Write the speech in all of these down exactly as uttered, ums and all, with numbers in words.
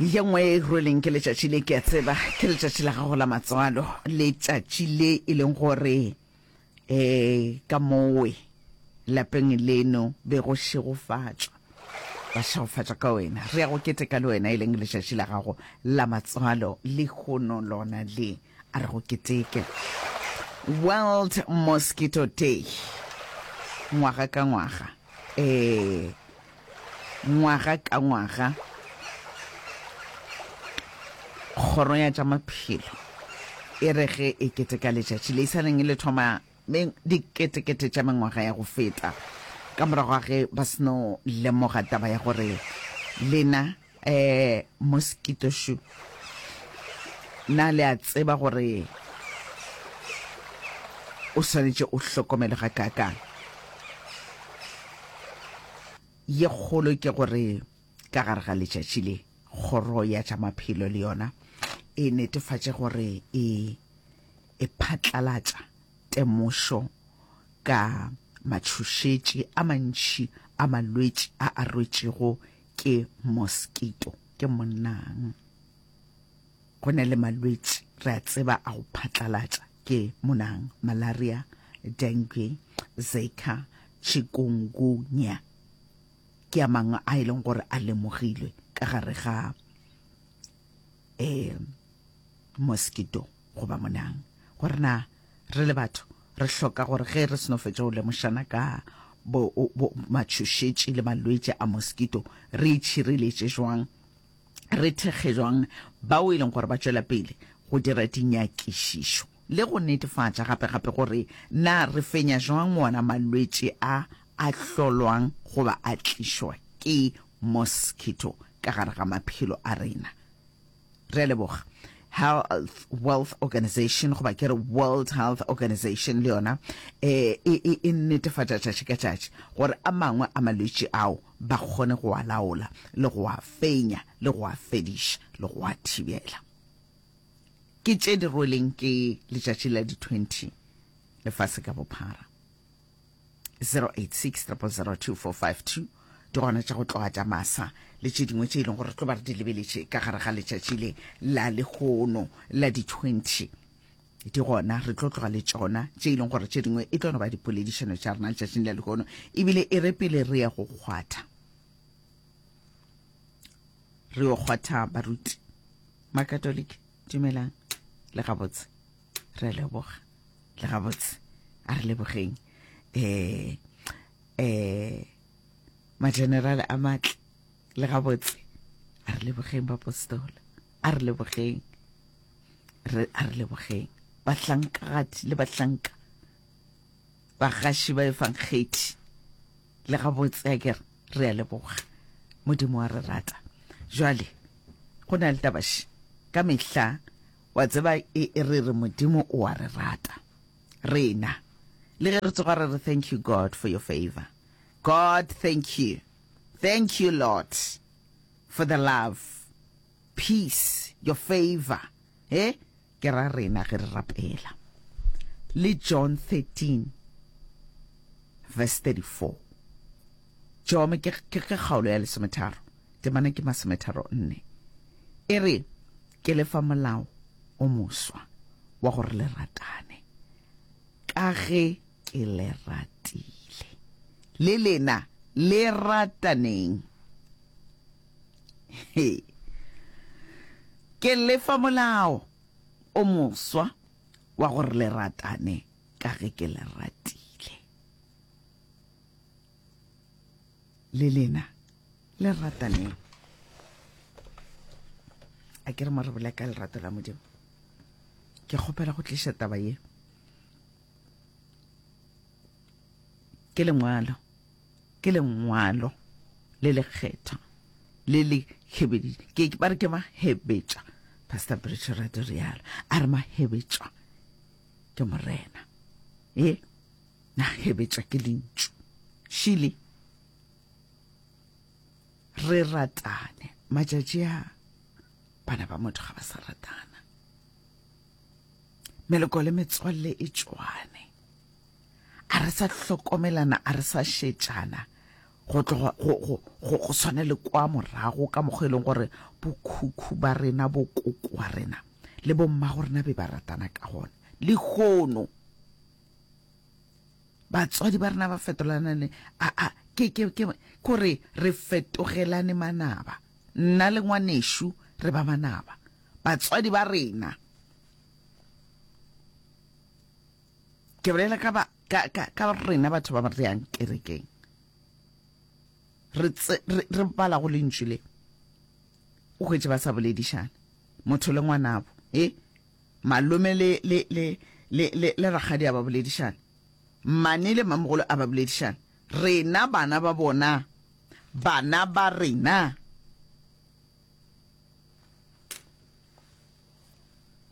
Ye nngwe e rweleng ke letšatši le, ke a tseba ke letšatši la gago la matswalo, letšatši le e leng gore um ka mowe lapeng leno be go šegofatšwa, ba šegofatšwa ka wena. Re ya go keteka le wena e leng letšatši la gago la matswalo lehono lona le, a re go keteke. World Mosquito Day ngwaga ka ngwaga, ee ngwaga ka ngwaga kgoro ya tša maphelo e re ge e keteka letšatši le e sa leng le thoma diketekete tša mengwaga ya go feta ka morago ga ge ba seno lemoga taba ya gore lena um mosquito shu na le a tseba gore o swanetše o hlokomele ga kaakang. Ye kgolo ke gore ka gare ga letšatši le kgoro ya tša maphelo le yona e netefatše gore e e phatlalatša temošo ka matšhošetši a mantši a malwetši a a rwetšego ke mosquito, ke monang. Go na le malwetši re a tseba a go phatlalatša ke monang, malaria, dengue, zika, chikungunya ke a mangwe a e leng gore a lemogilwe ka gare ga um mosquito goba monang. Gore na re le batho re hloka gore ge re seno fetša go lemošana ka bo, bo matšhošetši le malwetši a mosquito, re itšhireletše jwang, re thekge jwang bao e leng gore ba tšwela pele go dira dinyakišišo le go netefatša gape-gape gore na re fenya jwang wona malwetši a a hlolwang goba a tlišwa ke mosquito ka gare ga maphelo a rena. Re a leboga. Health Wealth Organization goba ke re World Health Organization le yona e e e netefatša tšatši ka tšatši gore a mangwe a malwetši ao ba kgone go a laola le go a fenya le go a fediša le go a thibela. Ke tše di rweleng ke letšatši la di twenty lefase ka bophara. zero eight six triple zero two four five two di gona tša go tloga tša masa le tše dingwe tše e leng gore re tlo ba re di lebeletše ka gare ga letšatši le la lehono la di twenty. Di gona, re tlo tloga le tšona tše e leng gore tše dingwe e tlo no ba dipoledišano tša rena letšatšing la lehono, ebile e re pele re ya go kgwatha, re yo kgwatha baruti Makatoliki. Dumelang le gabotse, re a leboga le gabotse, a re lebogeng eh eh magenerale a matle le gabotse, a re lebogeng bapostola, a re lebogeng, re a re lebogeng bahlankagadi le bahlanka bagaši ba efankgethi le gabotse, a ke re re a leboga, Modimo wa re rata. Jwale go na le tabaši ka mehla, wa tseba e re re Modimo o a re rata rena, le ge re tsoga re re thank you God for your favor, God thank you, thank you Lord for the love, peace, your favor, eh ke ra rena ge re rapela. Le John thirteen verse thirty-four, John ke ke kgaolo ya lesometharo, temana ke masometharo nne, e re ke lefa molao o moswa wa gore le ratane ka ge ke le ratile, le lena le rataneng. He. Ke lefa molao o moswa wa gore le ratane ka ge ke le ratile, le lena le rataneng. A ke re mo re bolela ka lerato la Modimo, ke kgopela go tliša taba ye ke lengwalo, ke lengwalo le lekgethwa le le hebeditše, ke ba re ke mahebetša, Pastor Bridge Rado rialo, a re mahebetšwa ke Morena, e na hebetša ke lentšu šile re ratane. Matšatši a bana ba motho ga ba sa ratana, meloko le metswalle e tšwane, a re sa hlokomelana, a re sa šetšana, Go tloga go, go, go, go swana le kwa morago ka mokgwa e leng gore bokhukhu ba rena, bokoko wa rena le bommago rena be ba ratana ka gona. Lehono batswadi ba rena ba fetolana le a, a, ke, ke, ke, kore re fetogelane manaba. Nna le ngwanešu re ba manaba. Batswadi ba rena, ke bolela ka ba, ka, ka, ka rena batho ba re yang kerekeng, re, tse, re, re bala go lentšu le, o hwetše ba sa boledišana, motho le ngwanabo, e malome le, le, le, le, le, le rakgadi a ba boledišana, mmane le mamogolo a ba boledišana, rena bana ba bona, bana ba rena.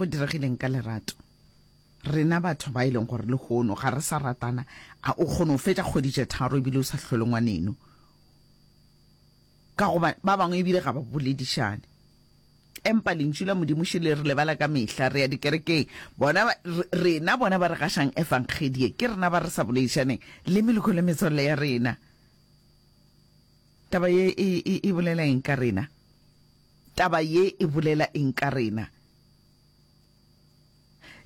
Go diregileng ka lerato? Rena batho ba e leng gore lehono ga re sa ratana, a o kgone go fetša kgwedi tše tharo ebile o sa hlole ngwaneno, ka goba ba bangwe ebile ga ba boledišane. Empa lentšu la Modimo še le re lebala ka mehla, re ya dikerekeng, bona ba, rena bona ba re gašang efangedie, ke rena ba re sa boledišaneng le meloko le metswalle ya rena. Taba ye e, e, e bolela eng ka rena? Taba ye e bolela eng ka rena?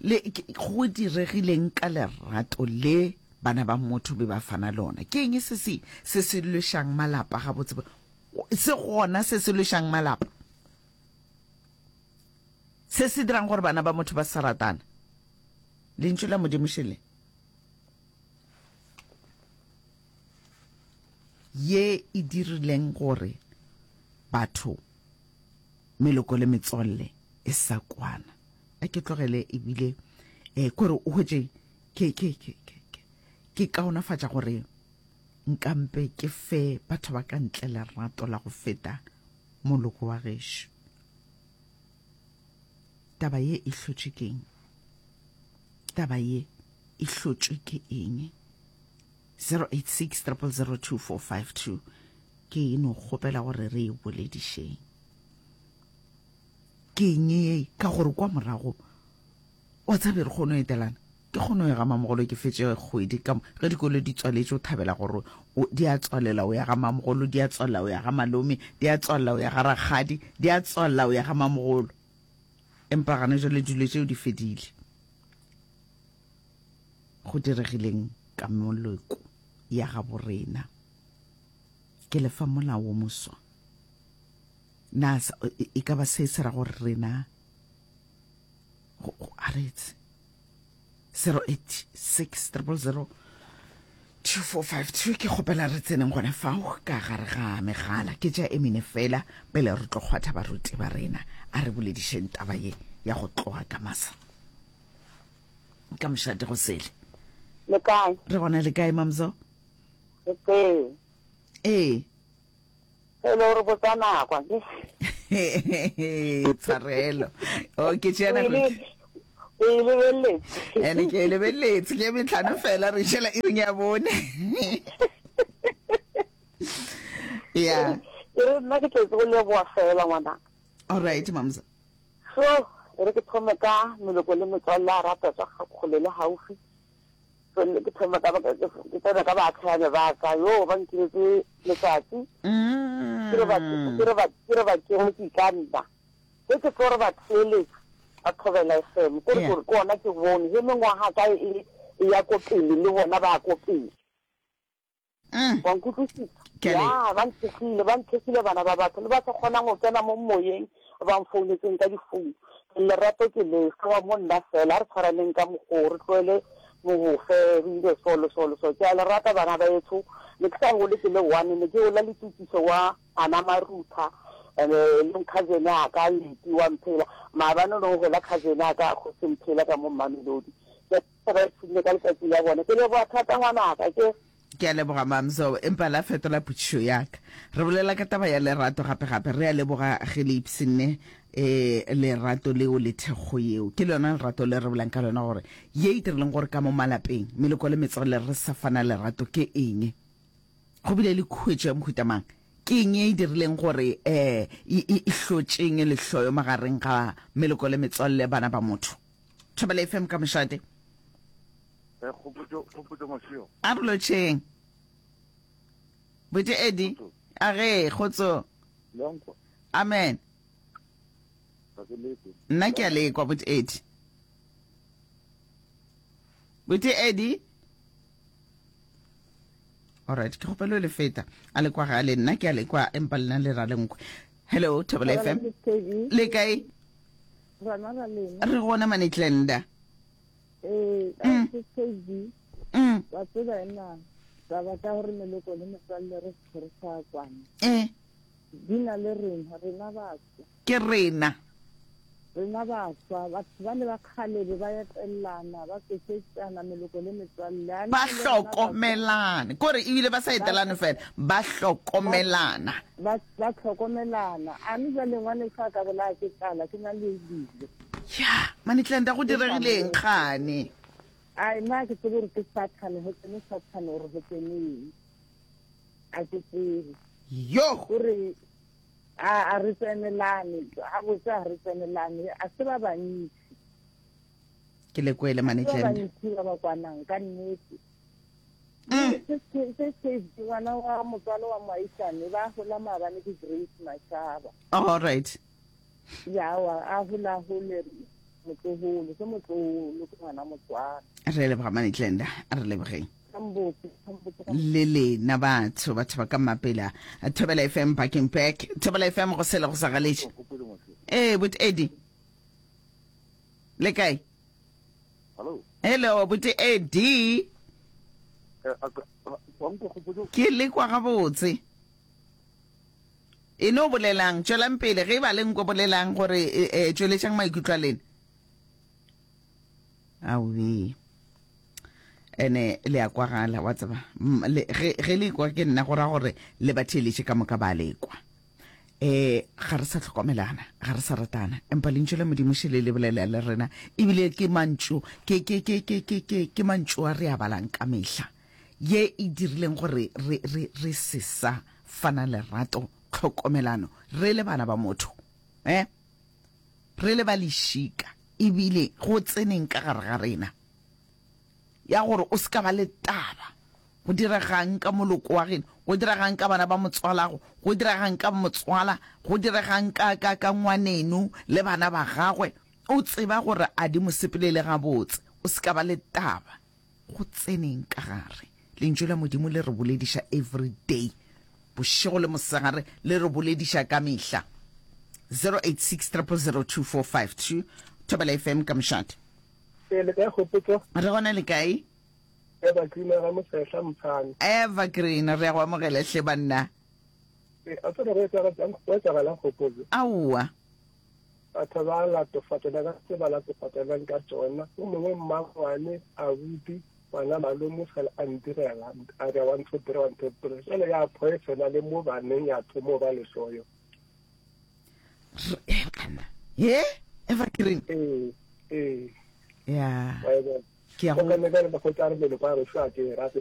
Le go diregileng ka lerato le bana ba motho be ba fana lona? Ke eng se se se se lwešang malapa gabotse? Se gona se se lwešang malapa, se se dirang gore bana ba motho ba sa ratana? Lentšu la Modimo šele ye e dirileng gore batho meloko le metswalle e sa kwana. A ke tlogele ebile eh kore o hwetše ke ke ke ke ke kaonafatša gore nkampe ke fe batho ba ka ntle lerato la go feta moloko wa gešo. Taba ye e hlotšwe ke eng? Taba ye e hlotšwe ke eng? zero eight six triple zero two four five two ke e no kgopela gore re e boledišeng. Ke eng ye? Ka gore kwa morago wa tsebe re kgone go etelana, ke kgone go ya ga mamogolo, ke fetše kgwedi ka ge dikolo di tswaletše, o thabela gore di a tswalela o ya ga mamogolo, di a tswalela o ya ga malome, di a tswalela o ya ga rakgadi, di a tswalela o ya ga mamogolo. Empa gana jwale dilo tšeo di fedile. Go diregileng ka moloko ya ga borena? Ke lefa molao wo moswa. Na e ka ba se se ra gore rena a re etse? zero eight six triple zero two four five two ke kgopela re tseneng gona fao ka gare ga megala. Ke tša emine fela pele re tlo kgwatha baruti ba rena. A re boledišeng taba ye ya go tloga ka masa ka mošate go sele. Le kae? Re gona. Le kae, Mamzo? Le teng. Ee. E le gore botsa nako ke. Tshwarelo. O ke tšea nako. O e lebeletse. Ene ke e lebeletse, ke metlhano fela re šela iring ya bone. Ya. E re nna ke tletse go leboa fela ngwana. All right, Mamzo. So, e re ke thome ka meloko le metswalle a rata tswa kgole le haufi. Ke thome ka ke tsena ka baatlhane ba ka yo ba nkiletse letsatsi. Ke re ba ke re ba ke re ba ke mo ke ka nna. Ke ke tlo re ba theeletsa ba Thobela F M. Ke re gore ke ona ke bone he mengwaga ka e ya ko pele le bona ba ko pele. Wa nkutlwisisa? Ya, ba nthekgile, ba nthekgile bana ba batho le ba sa kgonang go kena mo moyeng ba mfounetseng ka difounu. Lerato ke le wa mo nna fela, a re tshwaraneng ka mokgwa re tlohele mogofe re ile so le so le so. Ke a le rata bana ba etsho, ne ke sa gole ke le one, ne ke gola le Tukiso wa ana Marutha, le cousin a ka Leti wa Mphela. Maabane no gola cousin a ka Kgosi Mphela ka mo Mamelodi. Ke ba ipshinne ka letsatsi la bone. Ke leboga thata ngwanaka ke. Ke a leboga Mamzo, empa la fetola potšišo ya ka. Re bolela ka taba ya lerato gape gape, re a leboga ge le ipshinne eh lerato leo le thekgo yeo. Ke lona lerato le re bolang ka lona gore ye e dirileng gore ka mo malapeng meloko le metswalle re sa fana lerato ke eng? Go bile le khuetšo ya mohuta mang? Ke eng e dirileng gore eh e hlotšeng lehloyo magareng ga meloko le metswalle bana ba motho? Thobela F M ka mošate. Kgopotšo, Kgopotšo Mashio. A re lotšheng. Buti Eddie, a ge, kgotso. Amen. Nna ke a lekwa, Buti Eddie. Buti Eddie. Alright, ke kgopelo le feta. A le kwa gale, nna ke a lekwa empa lena le ra le nkwe. Hello, Thobela F M. Le kae? Re gona Manetlenda. Eh, Mm. K V. Mm. Wa tseba ena, taba tša gore meloko le metswalle re se re sa kwana. Eh. Di na le rena, rena baswa. Ke rena. Rena baswa, batho ba le ba kgale be ba etelana, ba tsošetšana meloko le metswalle. A Ba na le rena baswa. hlokomelane. Kore ebile ba sa etelane fela, ba hlokomelana. Ba, ba hlokomelana. A mme jwale ngwaneso a ka bolaya ke tlala, ke na le dijo. Ya, Manetlenda go diregileng kgane? Ai, nna ke tsebe gore ke Sathane, go tsene Sathane gore go tsene eng. A ke tsebe. Yo! Gore a, a re tsenelane, a botse a re tsenelane, a se ba bantsi. Ke le kwele, A se ba Manetlenda. bantsi ba ba kwanang, ka nnete. Mm. Se, se, se, se, ngwana wa motswalo wa moaisane, ba hola maabane ke Grace Mashaba. All right. Ya, wa, a hola hole motloholo, ke motloholo, ke ngwana motswalo. Re leboga Manetlenda, a re lebogeng. Kambotse, kambotse, kambotse. Le lena batho, batho ba ka mapela. Thobela F M parking back. Thobela F M go sele go sa galetše. Eh, Buti Eddie. Le kae? Hello. Hello, Buti Eddie. Eh, a ka, a, wa nkwa gopotso? Ke le kwa gabotse. E no bolelang, tšwelang pele, ge e ba le nkwe bolelang gore, e, e, tšweletšang maikutlo a lena. Aowe. Ene le a kwagala, wa tseba. M-, le, ge, ge le kwa ke nna go ra gore le ba theeletše ka moka ba lekwa. Eh, ga re sa hlokomelana, ga re sa ratana. Empa lentšu la Modimo šele le bolela le rena. Ebile ke mantšu, ke, ke, ke, ke, ke, ke, ke mantšu a re a balang ka mehla. Ye e dirileng gore re, re, re se sa fana lerato, tlhokomelano, re le bana ba motho. Eh? Re le ba lešika, ebile go tseneng ka gare ga rena. Ya gore o se ka ba le taba. Go diregang ka moloko wa geno, go diregang ka bana ba motswalago, go diregang ka motswala, go diregang ka, ka, ka ngwaneno le bana ba gagwe. O tseba gore a di mo sepelele gabotse, o se ka ba le taba. Go tseneng ka gare. Lentšu la Modimo le re bolediša every day. Bošego le mosegare le re bolediša ka mehla. zero eight six triple zero two four five two. Thobela F M ka mošate. Ee, le kae Kgopotso? Re gona le kae? Evergreen ga Mosehla Mphane. Evergreen, re ya go amogela hle banna. Ee, a tsere go etsagala, go etsagala Kgopotso. Aowa. Batho ba latofatšana ka tse ba latofatšanang ka tsona. O mongwe mmangwane, abuti, ngwana malome fela a ntirela, a re one two three, one two three. Jwale ya poisona le mo baneng ya thomo ba lehloyo. Re, eh, banna. Ye? Evergreen. Ee, ee. Ya. Wa e bona. Ke ya go Go ka nna ka re ba kgotsa re meloko ya gešo a ke e rate.